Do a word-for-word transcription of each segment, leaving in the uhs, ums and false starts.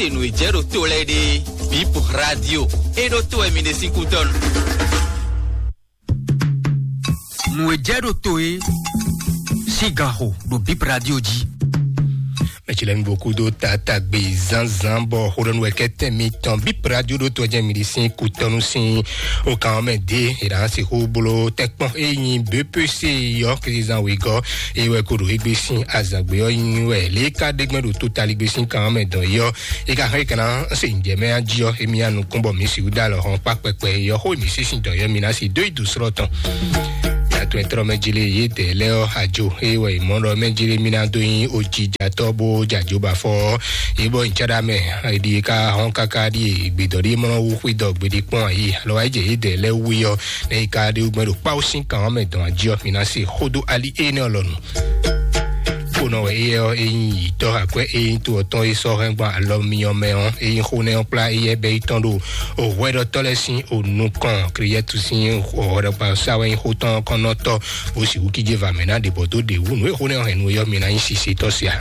E nǔ e jɛ ɖo to lɛ́ɛ ɖe, Bip Radio, e ɖo to wɛ mi ɖe sín kútɔ́nu. Nǔ e jɛ ɖo to e sín ganxo ɖo Bip Radio jí. Mɛtsilɛnu bokudo tata gbe zánzán bɔ xóɖɔnu wɛ kɛtɛ mitɔn Bip Radio ɖo to jɛ mi ɖi sín kutɔnu sín o kan mɛ de e ɖa si xó blo tɛkpɔn e nyi B P C yɔ kizan wegɔ e wɛ ko ɖo egbe sín azagbe ɔ nyi wɛ lě ka ɖe gbɛn ɖo to tali gbe sín kan mɛ dɔn yɔ e ka hɛn kana se njɛ mɛ aji ɔ emi anu kún bɔ mi si da lɔ hɔn kpa kpɛkpɛ yɔ xó mi sísìn dɔn yɔ mi na si dó idu srɔ tɔn. Yàtọ̀ ẹ̀tọ́rọ̀ mɛ jele yé dẹ̀ lẹ́ ọ́ àjò eye wɛ ìmọ̀ràn mɛ jele mi na dó yín òjijàtọ́ bó jàjó bá fọ́ yé bọ́ ìtsádá mɛ èdè ká hɔn káká ɖíe ìgbèdọ̀ ɖíe mɔ̀ràn wú xwé dọ̀ gbèdè kpɔn ayé alọ́ wáyé jẹ yé dẹ̀ lẹ́ wú yɔ lẹ́yìn ká ɖé wú gbẹ́ ɖo kpáwó sín kàn ɔ́ mɛ dɔn àjí ɔ́ mi na se xódó ali énɛ́ ɔlɔnu. Kpónɔ wɛ éyɛ́ ɔ́ é nyí yǐtɔ́ akwɛ́ é nyí to ɔ́tɔn é sɔ́ hɛn gbɔn alɔ myɔ mɛ ɔ́ é nyí xó nɛ́ ɔ́ kplá éyɛ́ bɛ́ yi tɔn ɖo òhwɛɖɔtɔ́ lɛ́ɛ sín onukɔn Kliyɛ́tu sín òhwɛɖɔkpa sá wɛ nyí xó tɔn ɔ́ kɔn nɔ tɔ́ bó sixú kíjé va mɛ ná ɖě bɔ dó ɖě wú nǔ e xó nɛ́ ɔ́ hɛn nú é ɔ́ mi ná nyí sisetɔ́ sia.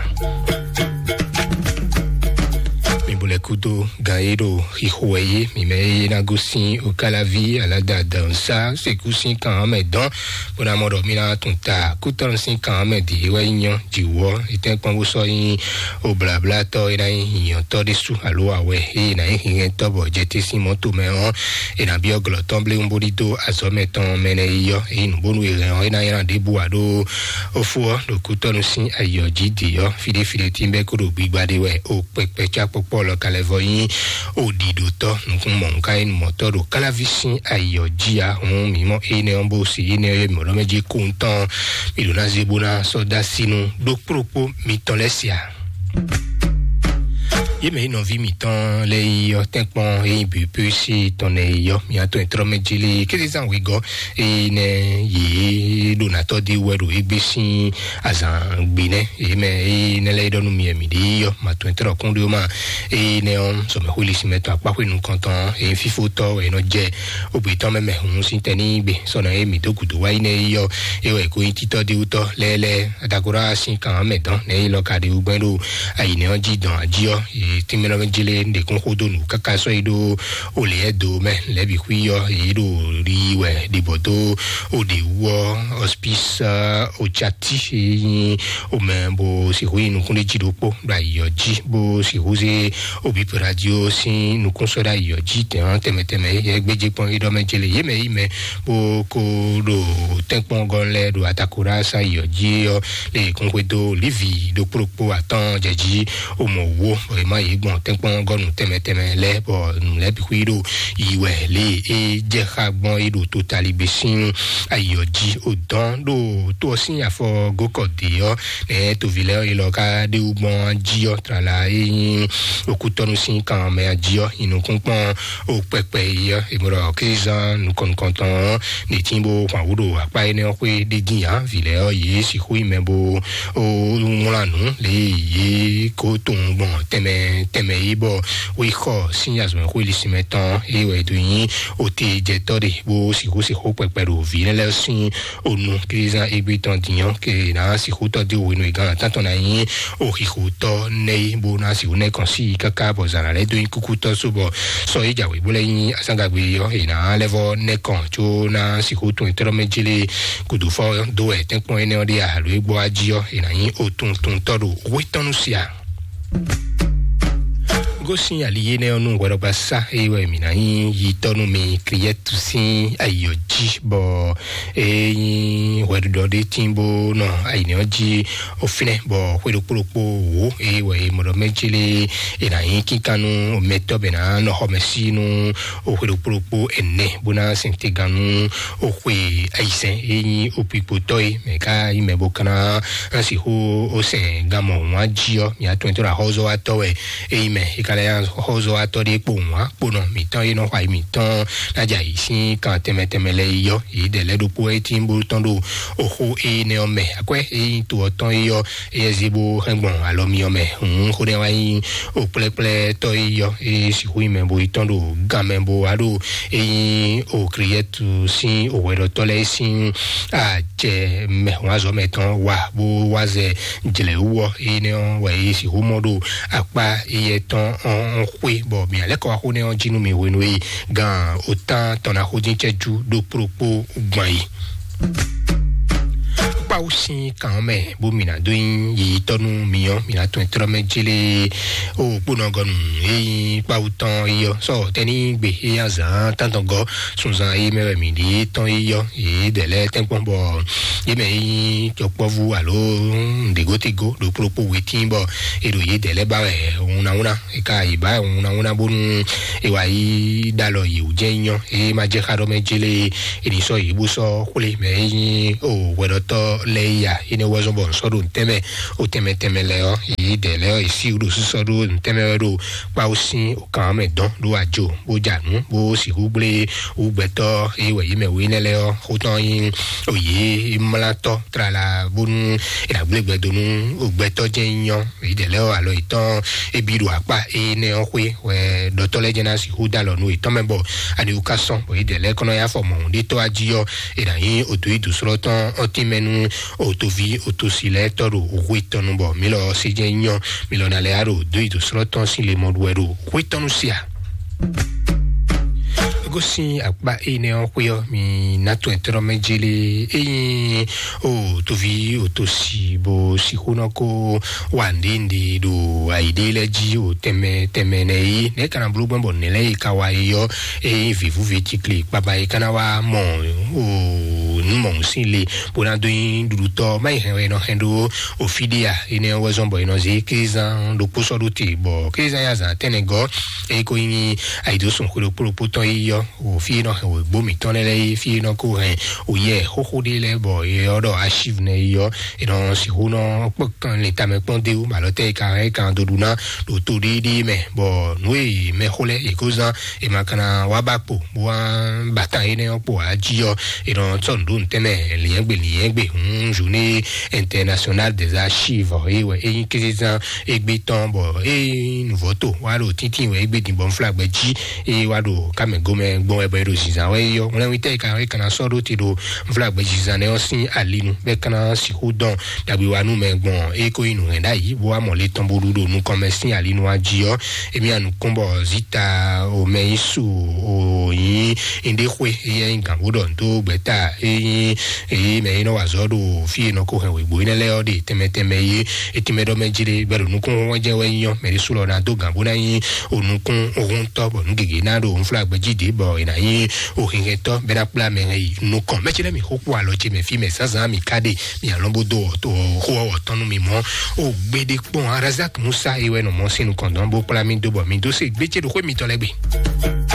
Mi bo lɛ́ kúdó gan e ɖo xixo wɛ yé mi mɛ e ná gosín Okálaví aládàá dɔn sá sekú sín kan ɔ́ mɛ dɔn bó ná mɔ ɖɔ mí ná tún ta kútɔ́nù sín kan ɔ́ mɛ dě wɛ nyí nyɔ́ jǐwɔ etɛ́nkpɔ́n bó sɔ́ nyí oblablátɔ́ e ná nyí nyǐnyɔ́tɔ́ ɖésú alo awɛ e ná nyí hinhɛntɔ́ bɔ jɛté sín mɔ̌to mɛ ɔ́, è nǎ byɔ́ glɔ̌ tɔn bléwún bó ɖidó azɔ̌ mɛtɔn mɛ nɛ́ yi ɔ́, ényí nǔbónú e hɛn ɔ́ é ná nylá ɖěbǔ ǎ ɖó ófú ɔ́ ɖo kútɔ́nù sín ayǐ ɔ́ jí dě ɔ́, fíɖéfíɖé tínbɛ́ kó ɖo gbigba ɖe wɛ o kpɛkpɛ cá kpɔkpɔ́ lɔ ka lɛ́ vɔ nyí o ɖiɖotɔ́ nukúnmɔnǔkáyínumɔtɔ́ ɖo káláví sín ayǐ ɔ́ jí ǎ. Hǔn mǐ mɔ énɛ́ ɔ́ bó se énɛ́ ɔ́ yɛ mǐ ɖɔ mɛ jí kúntɔn mǐ ɖo ná zé bó ná sɔ́ dó así nú ɖó kplókpó mitɔn lɛ́ɛ se ǎ. Yě mɛ nyí nɔví mǐtɔn lɛ́ɛ yi ɔ́ tɛ́nkpɔ́n e nyí bǐ pé sí tɔn nɛ́ yi ɔ́, mǐ atɔn e tlɔ́ mɛ jí lé kézezán wegɔ́ e nɛ́ yě ɖo nǎtɔ́ dé wɛ ɖo égbé sín azǎn gbe nɛ́. Yě mɛ e nɛ́ lɛ́ɛ ɖɔ nú mi wɛ mǐ ɖe yi ɔ́, mǐ atɔn e tlɔ́ kún ɖó ma e nɛ́ ɔ́ sɔmɛxwé lisí mɛ tɔn akpáxwé nukɔntɔn e nyí fífótɔ́ wɛ é nɔ jɛ. Ogbetɔn mɛ mɛ hun sín tɛ ní gbe sɔnà e mǐ dó gǔdo wá yi nɛ yi ɔ́, é wɛ kó nyí títɔ́ ɖíwútɔ́ lɛ́lɛ́ adagora sín kan mɛ dɔn nɛ yi lɔ ka ɖi wúgbɛ́n ɖo ayǐnɛ ɔ́ jí dɔn ají ɔ́, tínmɛnɔmɛ jélé ɖěkún xódó nǔ káká sɔ́ yi ɖó olěɛ́ do mɛ lɛ̌ bǐ xwí ɔ́, yě ɖo yi wɛ ɖibɔ dó oɖě wú ɔ́, hospice, otsati e nyí omɛ bó sixú yi nukún ɖé jí ɖokpó ɖo ayǐ ɔ́ jí bó sixú zé obipo radio sín nukúnsɔ́ɖó ayǐ ɔ́ jí tɛ̌n tɛmɛ tɛmɛ yɛ gbéjé kpɔ́n é ɖɔ mɛ jélé yě mɛ yí mɛ bó kó ɖo tɛ́nkpɔ́n gɔ́n lɛ́ɛ ɖo atakoɖa sa ayǐ ɔ́ jí ɔ́ lé kún xwedó lívi ɖokpó ɖokpó atɔ́ɔ́n jɛ jí omɔ wó bɔ è má yě gbɔn tɛ́nkpɔ́n gɔ́nu tɛmɛ tɛmɛ lɛ́ɛ bɔ nǔ lɛ́ɛ bǐ xwí ɖo yi wɛ lé é jɛ xá gbɔn é ɖo totaligbé sín ayǐ ɔ́ jí o dɔn ɖo tó ɔ́ sín afɔ gókɔ dě ɔ́ nɛ toví lɛ́ɛ ɔ́ yi lɔ ká ɖé wú gbɔn jí ɔ́ tlala é nyí okútɔ́nu sín kan mɛ jí ɔ́ yi nukúnkpɔ́n o kpɛkpɛ yi ɔ́ è mɔ ɖɔ kézán nukɔn nukɔntɔn ɔ́ ní tín bó hwan wú ɖo akpá énɛ́ ɔ́ xwé ɖé dín ǎ vǐ lɛ́ɛ ɔ́ yě sixú yi mɛ bó ó wlán nǔ lě yě kó tunwun gbɔn tɛnmɛ tɛnmɛ yi bɔ wí xɔ sín azɔ̌mɛxwé lisínmɛ tɔn é wɛ é dó nyí ote jɛtɔ́ ɖe bó sixú sixú kpɛkpɛ ɖo vǐ lɛ́ɛ lɛ́ɛ sín onu kílízán égbé tɔn dǐnyɔ́ ke ná sixú tɔ́ dó hwenu e gǎn atán tɔn ná nyí oxixotɔ́ nɛ́ é bó ná sixú nɛ́ kɔn sí i káká bɔ zǎn ná lɛ́ dó nyí kúkútɔ́ só bɔ sɔ é jǎwe bó lɛ́ nyí asángagbe ɔ́ è nǎ lɛ́ vɔ nɛ́ kɔn có ná sixú tún etɔ́ mɛ jélé gǔdo fɔ dó wɛ tɛ́nkpɔ́n énɛ́ ɔ́ ɖe alo é gbɔ wá jí ɔ́ è nǎ nyí otuntuntɔ́ ɖo wétɔ́nú sia. Gosín ali énɛ́ ɔ́ nú hwɛɖɔgbasá é wɛ mǐ ná nyí yitɔ́ nú mi Kliyɛ́tu sín ayǐ ɔ́ jí bɔ é nyí hwɛɖuɖɔ ɖé tín bó nɔ ayǐnɛ ɔ́ jí o fínɛ́ bɔ xwé ɖokpó ɖokpó wǒ é wɛ é mɔ ɖɔ mɛ jélé è nǎ nyí kínkánnu mɛtɔ́ bɛ ná nɔ xɔ mɛ sí nú o xwé ɖokpó ɖokpó ɛnɛ bó ná sɛn te gán nú o xwe ayizɛn é nyí o kpikpotɔ́ é mɛ ká nyí mɛ bó ká ná sixú o sɛn gán mɔ wǎn jí ɔ́ mǐ atɔn tɔn axɔ́zɔ́watɔ́ wɛ é nyí mɛ é ka lɛ́ axɔ́zɔ́watɔ́ ɖé kpo wǎn kponɔ mǐtɔn é nɔ xɔ ayi mǐtɔn ná jɛ ayǐ sín kan tɛnmɛ tɛnmɛ lɛ́ɛ yi ɔ́ yě dɛ lɛ́ ɖokpó é tín bó tɔn ɖo oxó énɛ́ ɔ́ mɛ akwɛ́ é nyí to ɔ́ tɔn é ɔ́ éyɛ́ zé bó hɛn gbɔn alɔ myɔ mɛ hǔn xó nɛ́ wá nyí o kplɛ́kplɛ́tɔ́ é yɔ é sixú nyí mɛ bo yi tɔn ɖo gan mɛ bo wá ɖo é nyí o Kliyɛ́tu sín o hwɛɖɔtɔ́ lɛ́ɛ sín ajɛ mɛ hǔn azɔ̌ mɛ tɔn wa bó wá zɛ jlɛ̌ wú ɔ́ énɛ́ ɔ́ wɛ é sixú mɔ ɖo akpá éyɛ́ tɔn ɔn xwe bɔ mǐ alɛ́ kɔ wá xó nɛ́ ɔ́ jí nú mì hwenu e gan otán tɔn ná xó dín cɛ́jú ɖó kplókpó gbɔn yi. Kpáwú sín kan ɔ́ mɛ bó mǐ ná dó nyí yiyitɔ́ nú mǐ ɔ́, mǐ ná tɔn tlɔ́ mɛ jélé o kpónɔgɔnu e nyí kpáwú tɔn é ɔ́ sɔ tɛ́ní gbe é nyí azǎn tántɔngɔ́ sunzan é mɛ wɛ mǐ ɖíe tɔn é ɔ́, yě dɛ lɛ́ɛ tɛ́nkpɔ́n bɔ yě mɛ é nyí cɔkpɔ́vú alo nǔɖégótégó ɖo kplókpó wetín bɔ è ɖo yě dɛ lɛ́ɛ ba wɛ wunawúna é ka yě ba wɛ wunawúna bónú è wá yi ɖó alɔ yě wú jɛ́n nyɔ́ é má jẹ́ xá ɖɔ mɛ jélé è ní sɔ́ yě bó sɔ́ xwlé mɛ é nyí o hwɛɖɔtɔ́ lɛ́ɛ ya énɛ́ wɛ zɔ́n bɔ nsɔ́ ɖo ntɛ́nmɛ o tɛnmɛ tɛnmɛ lɛ́ɛ ɔ́ yě dɛ lɛ́ɛ ɔ́ yě sí ɖo sísɔ́ ɖó ntɛ́nmɛ wɛ ɖo kpáwú sín o kan mɛ dɔn ɖó ajo bó ja nǔ bó sixú gblé wú gbɛtɔ́ é wɛ yě mɛ wé nɛ́ lɛ́ɛ ɔ́ xó tɔn nyí o yě mlátɔ́ tlala bónú è nǎ gblé gbɛ dó nú o gbɛtɔ́ jɛ́n nyɔ́ yě dɛ lɛ́ɛ ɔ́ alɔ yětɔn é bí ɖo akpá énɛ́ ɔ́ xwé wɛ ɖɔtɔ́ lɛ́ɛ jɛ́n ná sixú dó alɔ nú yětɔn mɛ bɔ ani wú ká sɔ́n bɔ yě dɛ lɛ́ɛ kɔnɔ yá fɔ mɔ̌ ɖé tɔ́ ají ɔ́ è nǎ nyí o tó yi dǒsrɔ́ tɔn ɔ́ tínmɛ nú o tóví o tó si lɛ́ɛ tɔ́ ɖo hwe tɔn nu bɔ mǐ lɔ sé jɛ́n nyɔ́ mǐ lɔ ná lɛ́ á ɖo dó yi dǒsrɔ́ tɔn sín le mɔ ɖu wɛ ɖo hwe tɔn nu sia. Gosín akpá énɛ́ ɔ́ xwé ɔ́ mi ná tɔn ɛtɔ́ mɛ jélé ényí o tóví o tó si bó sixú nɔ kó wa nɖénɖé ɖo ayǐɖé lɛ́ɛ jí o tɛnmɛ tɛnmɛ nɛ yí nɛ̌ ka ná bló gbɔn bɔ nɛ̌ lɛ́ɛ yi ka wa yi ɔ́ ényí vǐvúvi cikli kpaba yi ka ná wá mɔ o nǔ mɔ̌hun sín le bó ná dó nyí ɖuɖutɔ́ má yi hɛn wɛ è nɔ hɛn ɖó o fíɖíà énɛ́ ɔ́ wɛ zɔ́n bɔ è nɔ zé kézán ɖokpó sɔ́ ɖó te bɔ kézán ya zǎn tɛ́nnɛ gɔ́ eye ko nyí ayǐdósùn xwé ɖokpó ɖokpó tɔn yi yɔ o fí e nɔ hɛn wěgbó mǐtɔn lɛ́ɛ lɛ́ɛ yi fí e nɔ ko hɛn o yɛ xóxó ɖé lɛ́ɛ bɔ e ɔ́ ɖɔ archive nɛ yi yɔ è nɔ sixú nɔ kpɔ́ kan le tamɛ kpɔ́n dé wú mɛ alɔ tɛ e ka hɛn e kan dó ɖu ná ɖo to ɖéɖéé mɛ bɔ nǔ e mɛxó lɛ́ɛ è ko zán è ma ka ná wá ba kpo bó wá bata énɛ́ ɔ́ kpo ají ɔ́ è nɔ sɔ́ nǔ ɖó ntɛ́nmɛ lǐnyɛ́gbe lǐnyɛ́gbe hǔn journée internationale des archives é wɛ é nyí kézezán égbé tɔn bɔ é nyí nǔvɔ́ to wá ɖo tíntín wɛ égbé din bɔ nflágbɛ jí é wá ɖo kámɛ gomɛ gbɔn wɛ bɔ é ɖo zinzan wɛ é yɔ ŋlɛ́wítɛ́ é ka é ka ná sɔ́ ɖó te ɖo nflágbɛ zinzan nɛ ɔ́ sín alinu bɛ́ ka ná sixú dɔn ɖagbe wa nú mɛ gbɔn é ko nyí nǔhɛn ɖ'ayǐ bó wá mɔ le tɔn bó ɖu ɖo nukɔn mɛ sín alinu wá jí ɔ́ èmi anukún bɔ zita o mɛ yín su o yín ndé xwé éyɛ nyí gǎn bó ɖɔ ndo gbɛta é nyí èyí mɛ é nɔ wa azɔ̌ ɖo fí e nɔ ko hɛn wěgbó énɛ́ lɛ́ɛ ɔ́ ɖe tɛnmɛ tɛnmɛ yé etí mɛ ɖɔ mɛ jí ɖe bɛ ɖo nukún hɔn jɛ wɛ nyɔ mɛ ɖé sú lɔ ná dó gǎn bó ná nyí o nukún ohun tɔ́ bɔ nú gěgé ná ɖo nflá gbɛjí ɖě bɔ è nǎ nyí o hinhɛntɔ́ bɛ ná kplá mɛ hɛn yi nukɔn mɛ cí lɛ́ mi xó kpó alɔ ce mɛ fí mɛ zǎnzǎn mi ká ɖe mi alɔ́ bó dó xó ɔ́ wɔ̌tɔn nú mi mɔ́ o gbéɖé kpɔn arazak musa é wɛ nɔ mɔ́ sín nukɔn dɔn bó kplá mi dó bɔ mi dó se gbé ce ɖo xwé mitɔn lɛ́ gbe.